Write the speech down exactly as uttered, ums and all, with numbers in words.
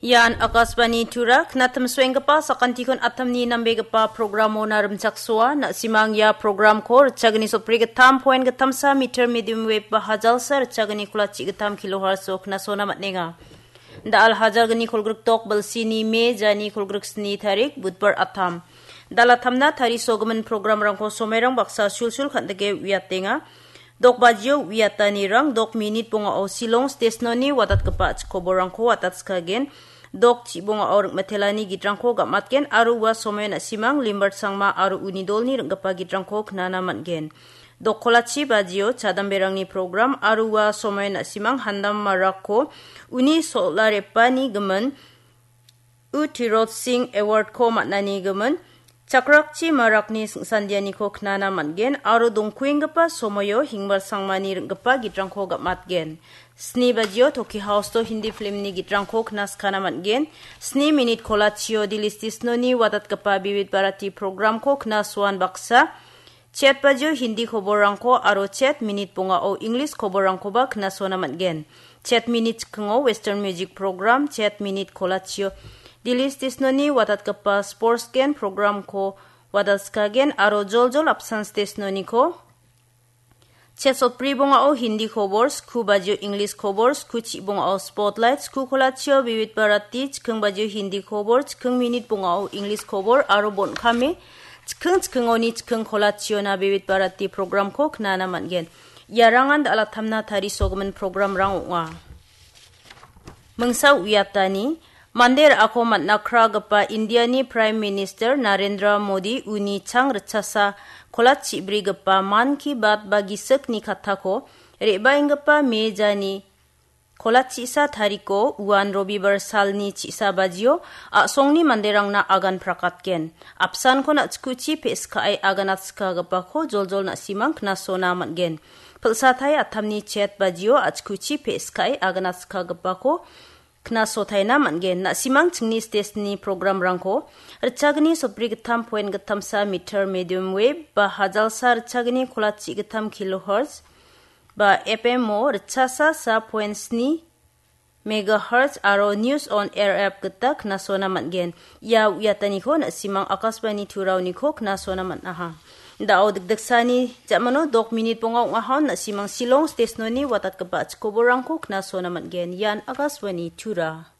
Ian Akashvani Tura, knatimsoenggipa sakantikon atamni nambegipa programona rimchaksoa, na·simang ia programko ritchagni sotbri gittam point gittamsa meter medium wave ba hajalsa ritchagni kolachi gittam kilohertz-o knasona man·enga. Da·al hajalgni kolgrik dok bilsini me jani kolgrik sni tarik, Budbar atam. Dalatamna tarisogimin programrangko somairang baksa sulsul kan·dike uiatenga. Dok bajio uiatanirang dok minit bongao Shillong stesnoni watatgipa chikoborangko watatskagen. Dok chibongao ring·mitelani gitrangko gam·atgen aro ua somoian na·simang Limbarsangma aro uni dolni ring·gipa gitrangko knana man·gen. Dok kolachi bajio chadamberangni program aro ua somoian na·simang Handam Marakko uni sol·arepani gimin U Tirot Singh Award-ko man·ani gimin Chakrakchi Marakni singsandianiko knana man·gen aro dongkuenggipa somoio Hingbarsangmani ring·gipa gitrangko gam·atgen. Sni bajio Toki House-o Hindi film-ni gitrangko knaskana man·gen. Sni minit kolachio Delhi stesnoni watatgipa Vividh Bharati program-ko knasoan baksa chet bajio Hindi koborrangko aro chet minit bongao English koborrangkoba knasona man·gen. Chet minit chikingo Western music program, chet minit kolachio Delhi stesnoni watatgipa sports gen program-ko watatskagen aro joljol apsan stesnoniko chet sotbri bongao Hindi kobor, sku bajio English kobor, sku chibongao Spotlight, sku kolachio Vividh Bharati, chiking bajio Hindi kobor, chiking minit bongao English kobor aro bon·kame chiking chikingoni chiking kolachiona Vividh Bharati program-ko knana man·gen. Iarangan dalatamna tarisogimin programrang ong·a. Mingsa uiatani, mande ra·ako man·akragipa Indiani Prime Minister Narendra Modi uni chang ritchasa kolachibrigipa Mann Ki Baat ba gisikni kattako re·baenggipa me jani kolachisa tariko uan Robibar salni chisa bajio a·songni manderangna agan prakatgen. Apsankon a·chikuchi pe·skae aganatskagipako joljol na·simang knasona man·gen. Pilsatai atamni chet bajio a·chikuchi pe·skae aganatskagipako knasotaina man·gen. Na·simang chingni stesni programrangko ritchagni sotbri gittam point gittamsa meter medium wave ba hajalsa ritchagni kolachi gittam kilohertz ba F M-o ritchasa sa point sni megahertz aro News on Air app gita knasona man·gen. Ia uiataniko na·simang Akashvani Turaoniko knasona man·aha. Da·o dikdiksani ja·mano dok minit bonga ong·aha, na·simang Shillong stesnoni watatgipa chikoborangko knasona man·gen. Ian Akashvani Tura.